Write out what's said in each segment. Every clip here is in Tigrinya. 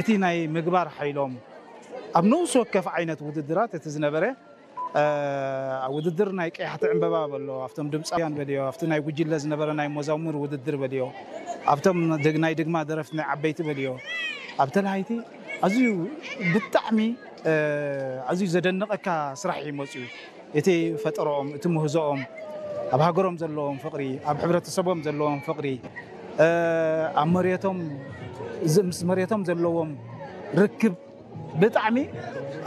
እቲ ናይ ምግባር ሓይሎም ኣብ ነውስ ወከፍ ዓይነት ውድድራት እቲ ዝነበረ ኣብ ውድድር ናይ ቀያሕቲ ዕምበባ በሎ ኣብቶም ድምፃውያን በልዮ ኣብቲ ናይ ጉጅለ ዝነበረ ናይ መዛሙር ውድድር በልዮ ኣብቶም ናይ ድግማ ደረፍቲ ናይ ዓበይቲ በልዮ ኣብ ተለሃይቲ ኣዝዩ ብጣዕሚ ኣዝዩ ዘደንቐካ ስራሕ እዩ መፅዩ። እቲ ፈጠረኦም፣ እቲ ምህዞኦም፣ ኣብ ሃገሮም ዘለዎም ፍቕሪ፣ ኣብ ሕብረተሰቦም ዘለዎም ፍቕሪ፣ ኣብ መሬቶም ምስ መሬቶም ዘለዎም ርክብ ብጣዕሚ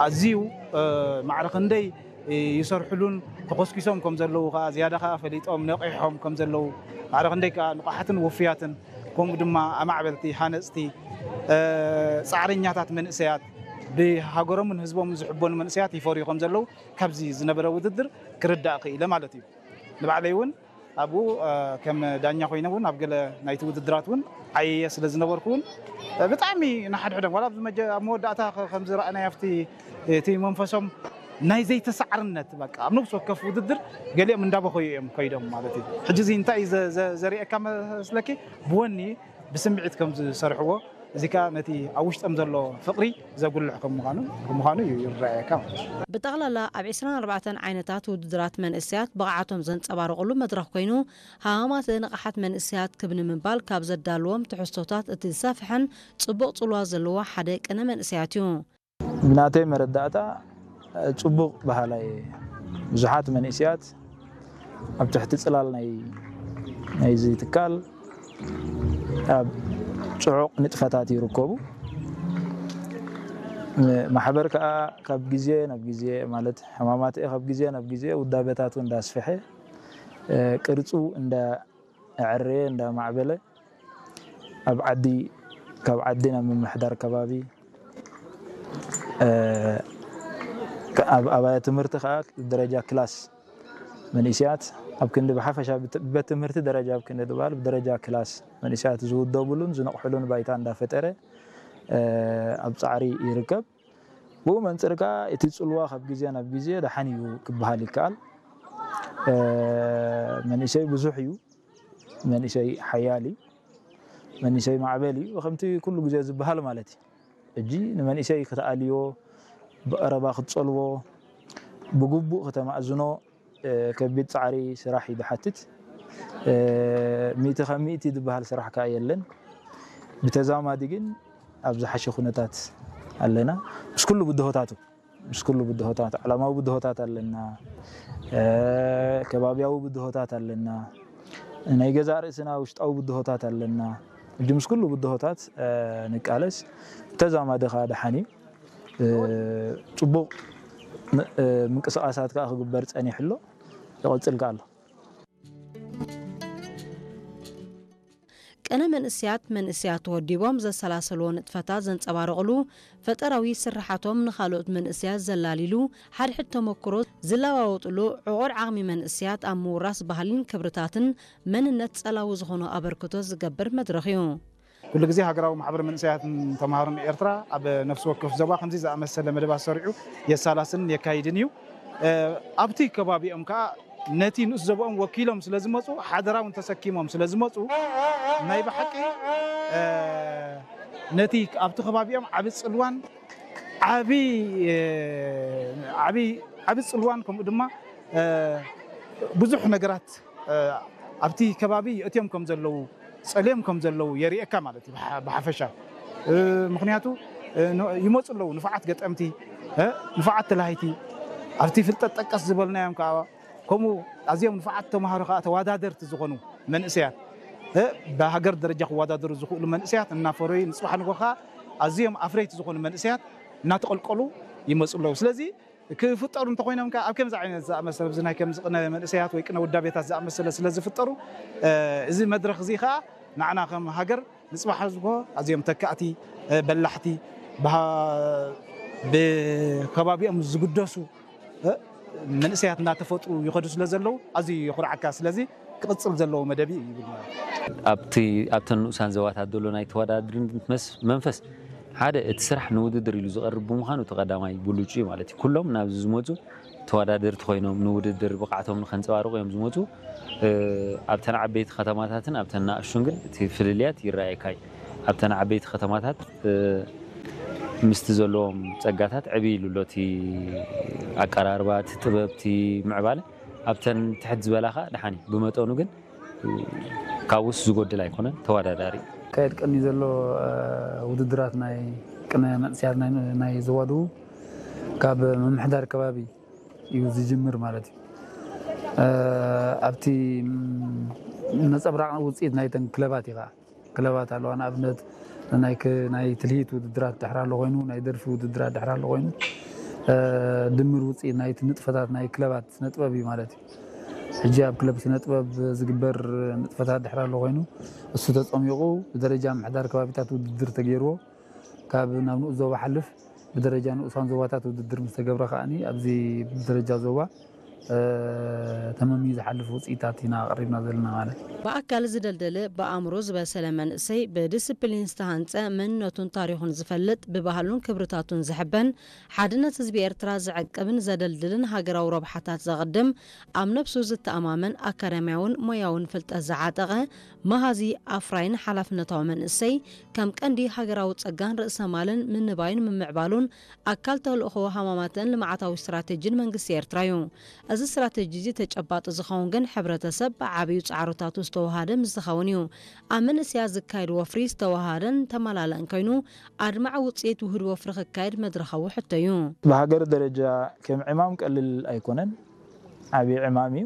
ኣዝዩ ማዕረ ክንደይ ይሰርሕሉን ተኾስኪሶም ከም ዘለዉ ከዓ ዝያዳ ከዓ ፈሊጦም ነቒሖም ከም ዘለዉ ማዕረ ክንደይ ከዓ ንቑሓትን ውፉያትን ከምኡ ድማ ኣማዕበልቲ ሃነፅቲ ፃዕረኛታት መንእሰያት ብሃገሮምን ህዝቦምን ዝሕበኑ መንእሰያት ይፈርዩ ከም ዘለዉ ካብዚ ዝነበረ ውድድር ክርዳእ ክኢለ ማለት እዩ። ንባዕለይ እውን ኣብኡ ከም ዳኛ ኮይነ እውን ኣብ ገለ ናይቲ ውድድራት እውን ዓየየ ስለ ዝነበርኩ እውን ብጣዕሚ ንሓድሕዶም ዋላ ኣብ መወዳእታ ከም ዝረኣናዮ ኣብቲ እቲ መንፈሶም ናይ ዘይተሳዕርነት በቃ ኣብ ነብሲ ወከፍ ውድድር ገሊኦም እንዳበኸዩ እዮም ከይዶም ማለት እዩ። ሕጂ እዚ እንታይ ዘርእየካ መስለኪ ብወኒ ብስምዒት ከም ዝሰርሕዎ እዚ ከዓ ነቲ ኣብ ውሽጦም ዘሎ ፍቕሪ ዘጉልሕ ከም ምዃኑ ከም ምዃኑ እዩ ይረኣየካ ማለት እዩ። ብጠቕላላ ኣብ ዕስራን ኣርባዕተን ዓይነታት ውድድራት መንእሰያት ብቕዓቶም ዘንጸባርቑሉ መድረኽ ኮይኑ ሃዋማተ ንቕሓት መንእሰያት ክብ ንምባል ካብ ዘዳልዎም ትሕዝቶታት እቲ ዝሰፍሐን ጽቡቕ ጽልዋ ዘለዎ ሓደ ቅነ መንእሰያት እዩ። ብናተይ መረዳእታ ጽቡቕ ባህላይ ብዙሓት መንእስያት ኣብ ትሕቲ ጽላል ናይ ናይዚ ትካል ኣብ ጽዑቕ ንጥፈታት ይርከቡ። ማሕበር ከኣ ካብ ግዜ ናብ ግዜ ማለት ሕማማት ካብ ግዜ ናብ ግዜ ውዳበታቱ እንዳስፈሐ ቅርጹ እንዳ ኣዕረየ እንዳማዕበለ ኣብ ዓዲ ካብ ዓዲ ናብ ምምሕዳር ከባቢ ኣብ ኣብያ ትምህርቲ ከዓ ደረጃ ክላስ መንእስያት ኣብ ክንዲ ብሓፈሻ ብቤት ትምህርቲ ደረጃ ኣብ ክንዲ ዝበሃል ብደረጃ ክላስ መንእስያት ዝውደብሉን ዝነቕሕሉን ባይታ እንዳፈጠረ ኣብ ፃዕሪ ይርከብ። ብኡ መንፅር ከዓ እቲ ፅልዋ ካብ ግዜ ናብ ግዜ ደሓን እዩ ክበሃል ይከኣል። መንእሰይ ብዙሕ እዩ። መንእሰይ ሓያል እዩ። መንእሰይ ማዕበል እዩ። ከምቲ ኩሉ ግዜ ዝበሃል ማለት እዩ። ሕጂ ንመንእሰይ ክትኣልዮ፣ ብቐረባ ክትጸልዎ፣ ብግቡእ ከተማእዝኖ ከቢድ ጻዕሪ ስራሕ እዩ ዝሓትት። ሚእቲ ካብ ሚእቲ ዝበሃል ስራሕ ከኣ የለን። ብተዛማዲ ግን ኣብ ዝሓሸ ኩነታት ኣለና። ምስ ኩሉ ብድሆታቱ። ምስ ኩሉ ብድሆታት ዓለማዊ ብድሆታት ኣለና፣ ከባብያዊ ብድሆታት ኣለና፣ ናይ ገዛእ ርእስና ውሽጣዊ ብድሆታት ኣለና። ሕጂ ምስ ኩሉ ብድሆታት ንቃለስ፣ ብተዛማዲ ከኣ ደሓን እዩ። ጽቡቕ ምንቅስቓሳት ከኣ ክግበር ጸኒሑ ኣሎ፣ ይቕጽል ከኣ ኣሎ። ቅነ መንእስያት መንእስያት ተወዲቦም ዘሰላሰልዎ ንጥፈታት ዘንጸባርቕሉ፣ ፈጠራዊ ስርሓቶም ንኻልኦት መንእስያት ዘላሊሉ፣ ሓድሕድ ተመክሮ ዝለዋወጥሉ፣ ዕቑር ዓቕሚ መንእስያት ኣብ ምውራስ ባህልን ክብርታትን መንነት ጸላዊ ዝኾኑ ኣበርክቶ ዝገብር መድረኽ እዩ። ኩሉ ግዜ ሃገራዊ ማሕበር መንእሰያትን ተምሃሮን ኤርትራ ኣብ ነፍሲ ወከፍ ዞባ ከምዚ ዝኣመሰለ መደባት ሰሪዑ የሳላስልን የካይድን እዩ። ኣብቲ ከባቢኦም ከኣ ነቲ ንኡስ ዞባኦም ወኪሎም ስለ ዝመጹ ሓደራ እውን ተሰኪሞም ስለ ዝመጹ ናይ ብሓቂ ነቲ ኣብቲ ከባቢኦም ዓቢ ጽልዋን ዓቢ ዓቢ ዓቢ ጽልዋን ከምኡ ድማ ብዙሕ ነገራት ኣብቲ ከባቢ የእትዮም ከም ዘለዉ ጸልዮም ከም ዘለዉ የርእየካ ማለት እዩ ብሓፈሻ ምክንያቱ ይመፁ ኣለዉ ንፉዓት ገጠምቲ ንፉዓት ተላሃይቲ ኣብቲ ፍልጠት ጠቀስ ዝበልናዮም ከዓ ከምኡ ኣዝዮም ንፉዓት ተምሃሮ ከዓ ተወዳደርቲ ዝኾኑ መንእሰያት ብሃገር ደረጃ ክወዳደሩ ዝኽእሉ መንእሰያት እናፈረዩ ንፅባሕ ንጎ ከዓ ኣዝዮም ኣፍረይቲ ዝኾኑ መንእሰያት እናተቐልቀሉ ይመፁ ኣለዉ ስለዚ ክፍጠሩ እንተኾይኖም ከ ኣብ ከምዚ ዓይነት ዝኣመሰለ እዚ ናይ ከምዚ ቅነ መንእሰያት ወይ ቅነ ውዳቤታት ዝኣመሰለ ስለ ዝፍጠሩ እዚ መድረኽ እዚ ከኣ ንዓና ከም ሃገር ንጽባሕ ዝጎ ኣዝዮም ተካእቲ በላሕቲ ብከባቢኦም ዝግደሱ መንእሰያት እናተፈጥሩ ይኸዱ ስለ ዘለዉ ኣዝዩ የኹርዓካ ስለዚ ክቕጽል ዘለዎ መደብ እዩ ይብል ማለት እዩ። ኣብቲ ኣብተን ንኡሳን ዘባታት ዘሎ ናይ ተወዳድርነት መስ- መንፈስ ሓደ እቲ ስራሕ ንውድድር ኢሉ ዝቐርብ ብምዃኑ እቲ ቀዳማይ ብሉጭ እዩ ማለት እዩ። ኩሎም ናብዚ ዝመፁ ተወዳደርቲ ኮይኖም ንውድድር ብቕዓቶም ንከንፀባርቑ እዮም ዝመፁ። ኣብተን ዓበይቲ ከተማታትን ኣብተን ንኣሽቱን ግን እቲ ፍልልያት ይረኣየካ እዩ። ኣብተን ዓበይቲ ከተማታት ምስቲ ዘለዎም ጸጋታት ዕብይ ኢሉ ኣሎ እቲ ኣቀራርባ፣ እቲ ጥበብ፣ እቲ ምዕባለ። ኣብተን ትሕት ዝበላ ኸኣ ደሓን እዩ። ብመጠኑ ግን ካብኡስ ዝጎድል ኣይኮነን፣ ተወዳዳሪ እዩ። ካየድ ቀኒ ዘሎ ውድድራት ናይ ቅነ መንእሰያት ናይ ዞባ ደቡብ ካብ ምምሕዳር ከባቢ እዩ ዝጅምር ማለት እዩ። ኣብቲ ነጸብራቕ ውፅኢት ናይተን ክለባት እዩ ከዓ። ክለባት ኣለዋ። ንኣብነት ናይ ትልሂት ውድድራት ድሕር ኣሎ ኮይኑ፣ ናይ ደርፊ ውድድራት ድሕር ኣሎ ኮይኑ፣ ድምር ውፅኢት ናይቲ ንጥፈታት ናይ ክለባት ስነጥበብ እዩ ማለት እዩ። ሕጂ ኣብ ክለብ ስነጥበብ ዝግበር ንጥፈታት ድሕር ኣሎ ኮይኑ፣ እሱ ተፀሚቑ ብደረጃ ምሕዳር ከባቢታት ውድድር ተገይርዎ ካብ ናብ ንኡስ ዞባ ሓልፍ ብደረጃ ንኡሳን ዞባታት ውድድር ምስ ተገብረ ከዓኒ ኣብዚ ብደረጃ ዞባ ተመምዩ ዝሓልፍ ውፅኢታት ኢና ኣቕሪብና ዘለና ማለት እዩ። ብኣካል ዝደልደለ፣ ብኣእምሮ ዝበሰለ መንእሰይ፣ ብዲስፕሊን ዝተሃንፀ፣ መንነቱን ታሪኹን ዝፈልጥ፣ ብባህሉን ክብርታቱን ዝሕበን፣ ሓድነት ህዝቢ ኤርትራ ዝዕቅብን ዘደልድልን ሃገራዊ ረብሓታት ዘቕድም፣ ኣብ ነብሱ ዝተኣማመን፣ ኣካዳሚያውን ሞያውን ፍልጠት ዝዓጠቐ፣ መሃዚ፣ ኣፍራይን ሓላፍነታዊ መንእሰይ ከም ቀንዲ ሃገራዊ ጸጋን ርእሰ ማልን ምንባዩን ምምዕባሉን ኣካል ተልእኾ ሃማማተን ልምዓታዊ ስትራቴጂን መንግስቲ ኤርትራ እዩ። እዚ ስትራቴጂ እዚ ተጨባጢ ዝኸውን ግን ሕብረተሰብ ብዓብዩ ጻዕርታቱ ዝተወሃደ ምስ ዝኸውን እዩ። ኣብ መንእሰያት ዝካየድ ወፍሪ ዝተወሃደን ተመላለእን ኮይኑ ኣድማዒ ውጽኢት ውህድ ወፍሪ ክካየድ መድረኻዊ ሕቶ እዩ። ብሃገር ደረጃ ከም ዕማም ቀልል ኣይኮነን። ዓብዪ ዕማም እዩ።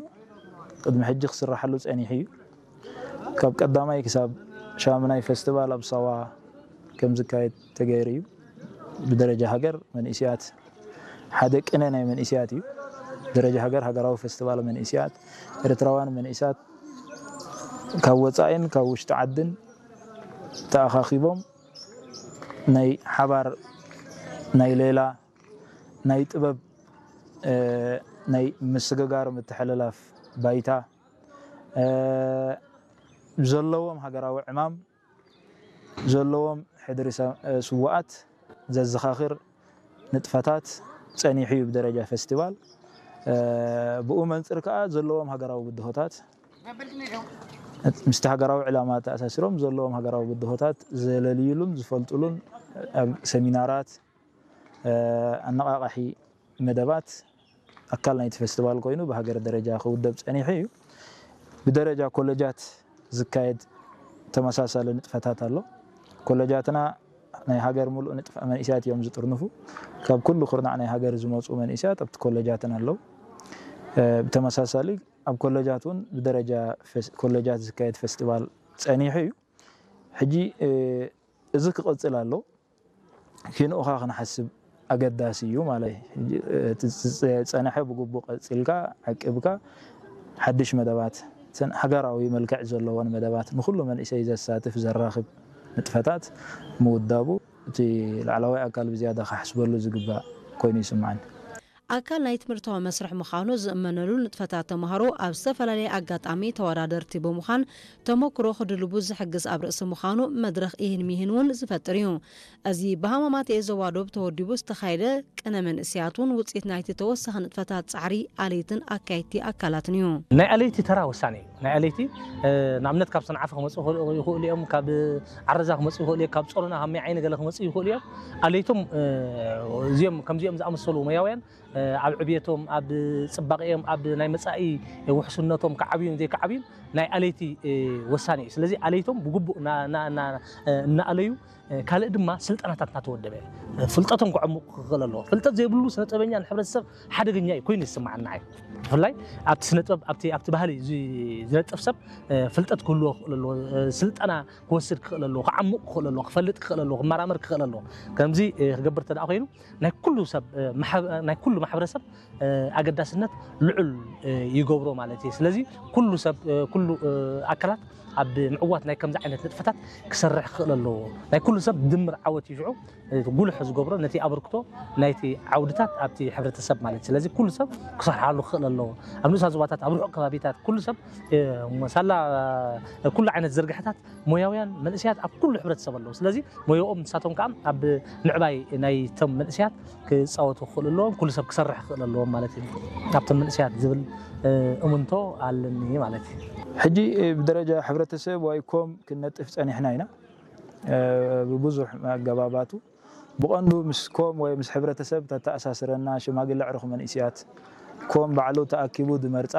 ቅድሚ ሕጂ ክስራሓሉ ጸኒሑ እዩ። ካብ ቀዳማይ ክሳብ ሻምናይ ፈስቲቫል ኣብ ሳዋ ከም ዝካየድ ተገይሩ እዩ። ብደረጃ ሃገር መንእስያት ሓደ ቅነ ናይ መንእስያት እዩ። ብደረጃ ሃገር ሃገራዊ ፈስቲቫል መንእስያት ኤርትራውያን መንእስያት ካብ ወጻኢን ካብ ውሽጢ ዓድን ተኣኻኺቦም ናይ ሓባር ናይ ሌላ ናይ ጥበብ ናይ ምስግጋር ምትሕልላፍ ባይታ ዘለዎም ሃገራዊ ዕማም ዘለዎም ሕድሪ ስውኣት ዘዘኻኽር ንጥፈታት ጸኒሑ እዩ ብደረጃ ፈስቲቫል። ብኡ መንጽር ከኣ ዘለዎም ሃገራዊ ብድሆታት ምስቲ ሃገራዊ ዕላማ ተኣሳሲሮም ዘለዎም ሃገራዊ ብድሆታት ዘለልይሉን ዝፈልጥሉን ሰሚናራት፣ ኣነቓቓሒ መደባት ኣካል ናይቲ ፈስቲቫል ኮይኑ ብሃገር ደረጃ ክውደብ ጸኒሑ እዩ። ብደረጃ ኮለጃት ዝካየድ ተመሳሳሊ ንጥፈታት ኣሎ። ኮለጃትና ናይ ሃገር ሙሉእ ንጥፈ መንእስያት እዮም ዝጥርንፉ። ካብ ኩሉ ኩርናዕ ናይ ሃገር ዝመጹ መንእስያት ኣብቲ ኮለጃትን ኣለዉ። ብተመሳሳሊ ኣብ ኮለጃት እውን ብደረጃ ኮለጃት ዝካየድ ፈስቲቫል ጸኒሑ እዩ። ሕጂ እዚ ክቕጽል ኣሎ። ኪንኡኻ ክንሓስብ ኣገዳሲ እዩ ማለት እዩ። ዝፀንሐ ብግቡእ ቀፂልካ ዓቂብካ ሓድሽ መደባት፣ እተን ሃገራዊ መልክዕ ዘለዎን መደባት ንኩሉ መንእሰይ ዘሳትፍ ዘራኽብ ንጥፈታት ምውዳቡ እቲ ላዕለዋይ ኣካል ብዝያዳ ክሓስበሉ ዝግባእ ኮይኑ ይስምዓኒ። ኣካል ናይ ትምህርታዊ መስርሕ ምዃኑ ዝእመነሉ ንጥፈታት ተምሃሮ ኣብ ዝተፈላለየ ኣጋጣሚ ተወዳደርቲ ብምዃን ተመክሮ ክድልቡ ዝሕግዝ ኣብ ርእሲ ምዃኑ መድረኽ ኢህን ሚህን እውን ዝፈጥር እዩ። እዚ ብሃማማት ኤዞ ዋዶብ ተወዲቡ ዝተኻየደ ቅነ መንእሰያት እውን ውፅኢት ናይቲ ተወሳኺ ንጥፈታት ጻዕሪ ኣለይትን ኣካየድቲ ኣካላትን እዩ። ናይ ኣለይቲ ተራ ወሳኒ እዩ። ናይ ኣለይቲ ንኣብነት ካብ ሰንዓፈ ክመፁ ይኽእሉ እዮም፣ ካብ ዓረዛ ክመፁ ይኽእሉ እዮም፣ ካብ ፆሮና ካብ ማይ ዓይኒ ገለ ክመፁ ይኽእሉ እዮም። ኣለይቶም እዚኦም ከምዚኦም ዝኣመሰሉ ሞያውያን ኣብ ዕብየቶም፣ ኣብ ጽባቐኦም፣ ኣብ ናይ መጻኢ ውሕስነቶም ክዓብዩን ዘይክዓብዩን ናይ ኣለይቲ ወሳኒ እዩ። ስለዚ ኣለይቶም ብግቡእ እናኣለዩ፣ ካልእ ድማ ስልጠናታት እናተወደበ ፍልጠቶም ክዕምቑ ክኽእል ኣለዎ። ፍልጠት ዘይብሉ ስነ ጥበበኛ ንሕብረተሰብ ሓደገኛ እዩ ኮይኑ ይስምዓና እዩ። ብፍላይ ኣብቲ ስነ ጥበብ ኣብቲ ኣብቲ ባህሊ ዝነጥፍ ሰብ ፍልጠት ክህልዎ ክኽእል ኣለዎ። ስልጠና ክወስድ ክኽእል ኣለዎ። ክዓምቕ ክኽእል ኣለዎ። ክፈልጥ ክኽእል ኣለዎ። ክመራመር ክኽእል ኣለዎ። ከምዚ ክገብር ተደኣ ኮይኑ ናይ ኩሉ ሰብ ናይ ኩሉ ማሕበረሰብ ኣገዳስነት ልዑል ይገብሮ ማለት እዩ። ስለዚ ኩሉ ሰብ ኩሉ ኣካላት ኣብ ምዕዋት ናይ ከምዚ ዓይነት ንጥፈታት ክሰርሕ ክኽእል ኣለዎ። ናይ ኩሉ ሰብ ድምር ዓወት እዩ ሽዑ ጉልሕ ዝገብሮ ነቲ ኣበርክቶ ናይቲ ዓውድታት ኣብቲ ሕብረተሰብ ማለት እዩ። ስለዚ ኩሉ ሰብ ክሰርሓሉ ክኽእል ኣለዎ። ኣብ ንኡሳት ዞባታት ኣብ ርሑቕ ከባቢታት ኩሉ ሰብ ሳላ ኩሉ ዓይነት ዝርግሐታት ሞያውያን መንእሰያት ኣብ ኩሉ ሕብረተሰብ ኣለዉ። ስለዚ ሞያኦም ንሳቶም ከዓ ኣብ ምዕባይ ናይቶም መንእሰያት ክፃወቱ ክኽእሉ ኣለዎም። ኩሉ ሰብ ክሰርሕ ክኽእል ኣለዎም ማለት እዩ። ኣብቶም መንእሰያት ዝብል እምንቶ ኣለኒ ማለት እዩ። ሕጂ ብደረጃ ሕብረተሰብ ዋይኮም ክንነጥፍ ፀኒሕና ኢና። ብብዙሕ ኣገባባቱ ብቐንዱ ምስ ኮም ወይ ምስ ሕብረተሰብ ተተኣሳስረና ሽማግለ ዕሩኽ መንእስያት፣ ኮም ባዕሉ ተኣኪቡ ዝመርጻ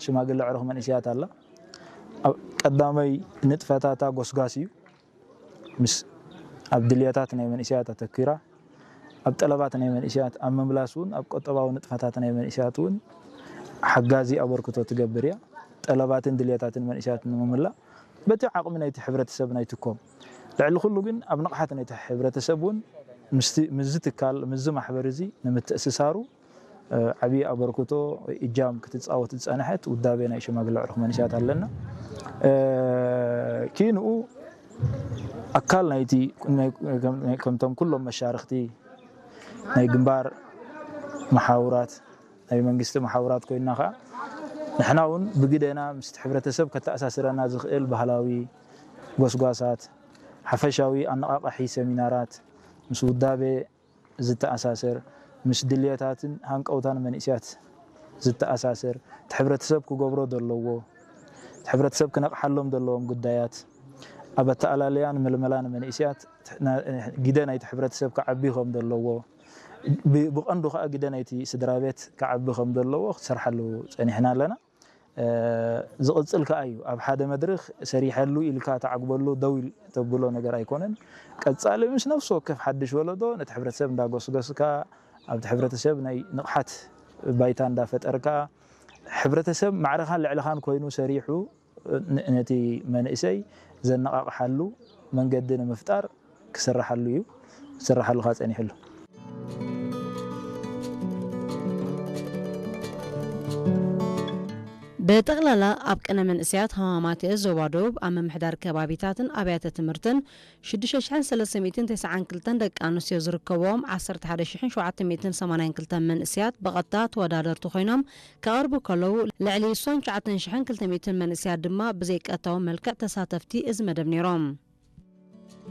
ሽማግለ ዕሩኽ መንእስያት ኣላ። ኣብ ቀዳማይ ንጥፈታታ ጎስጓስ እዩ። ምስ ኣብ ድልየታት ናይ መንእስያት ኣተኪራ፣ ኣብ ጠለባት ናይ መንእስያት ኣብ ምምላስ እውን ኣብ ቁጠባዊ ንጥፈታት ናይ መንእስያት እውን ሓጋዚ ኣበርክቶ ትገብር እያ። ጠለባትን ድልየታትን መንእስያት ንምምላእ በቲ ዓቕሚ ናይቲ ሕብረተሰብ ናይቲ ኮም፣ ልዕሊ ኩሉ ግን ኣብ ንቕሓት ናይቲ ሕብረተሰብ እውን ምስዚ ትካል ምስዚ ማሕበር እዚ ንምትእስሳሩ ዓብዪ ኣበርክቶ እጃም ክትፃወት ዝፀንሐት ውዳቤ ናይ ሽማግለ ዕሩኽ መንእስያት ኣለና። ኪንኡ ኣካል ናይቲ ከምቶም ኩሎም መሻርክቲ ናይ ግንባር መሓውራት ናይ መንግስቲ መሓውራት ኮይና ከዓ ንሕና እውን ብግደና ምስ ሕብረተሰብ ከተኣሳስረና ዝኽእል ባህላዊ ጎስጓሳት፣ ሓፈሻዊ ኣነቓቓሒ ሰሚናራት፣ ምስ ውዳቤ ዝተኣሳሰር፣ ምስ ድልየታትን ሃንቀውታን መንእስያት ዝተኣሳሰር፣ እቲ ሕብረተሰብ ክገብሮ ዘለዎ፣ እቲ ሕብረተሰብ ክነቕሓሎም ዘለዎም ጉዳያት፣ ኣብ ኣተኣላለያን ምልመላን መንእስያት ግደ ናይቲ ሕብረተሰብ ክዓቢ ከም ዘለዎ፣ ብቐንዱ ከዓ ግደ ናይቲ ስድራ ቤት ክዓቢ ከም ዘለዎ ክትሰርሓሉ ፀኒሕና ኣለና። ዝቕፅል ከዓ እዩ። ኣብ ሓደ መድረኽ ሰሪሐሉ ኢልካ ተዓግበሉ ደው ተብሎ ነገር ኣይኮነን። ቀፃሊ ምስ ነፍሲ ወከፍ ሓድሽ ወለዶ ነቲ ሕብረተሰብ እንዳጎስጎስካ፣ ኣብቲ ሕብረተሰብ ናይ ንቕሓት ባይታ እንዳፈጠርካ፣ ሕብረተሰብ ማዕረኻን ልዕልኻን ኮይኑ ሰሪሑ ነቲ መንእሰይ ዘነቓቕሓሉ መንገዲ ንምፍጣር ክስርሓሉ እዩ፣ ክስርሓሉ ከዓ ፀኒሕሉ። ብጠቕላላ ኣብ ቅነ መንእሰያት ሃማማት ዞባ ደቡብ ኣብ ምምሕዳር ከባቢታትን ኣብያተ ትምህርትን ሽዱሽተ ሽሕን ሰለስተ ሚእትን ተስዓን ክልተን ደቂ ኣንስትዮ ዝርከብዎም ዓሰርተ ሓደ ሽሕን ሸውዓተ ሚእትን ሰማንያን ክልተን መንእሰያት ብቐጥታ ተወዳደርቲ ኮይኖም ክቐርቡ ከለዉ ልዕሊ ስሳን ትሽዓተን ሽሕን ክልተ ሚእትን መንእሰያት ድማ ብዘይቀጥታዊ መልክዕ ተሳተፍቲ እዚ መደብ ነይሮም።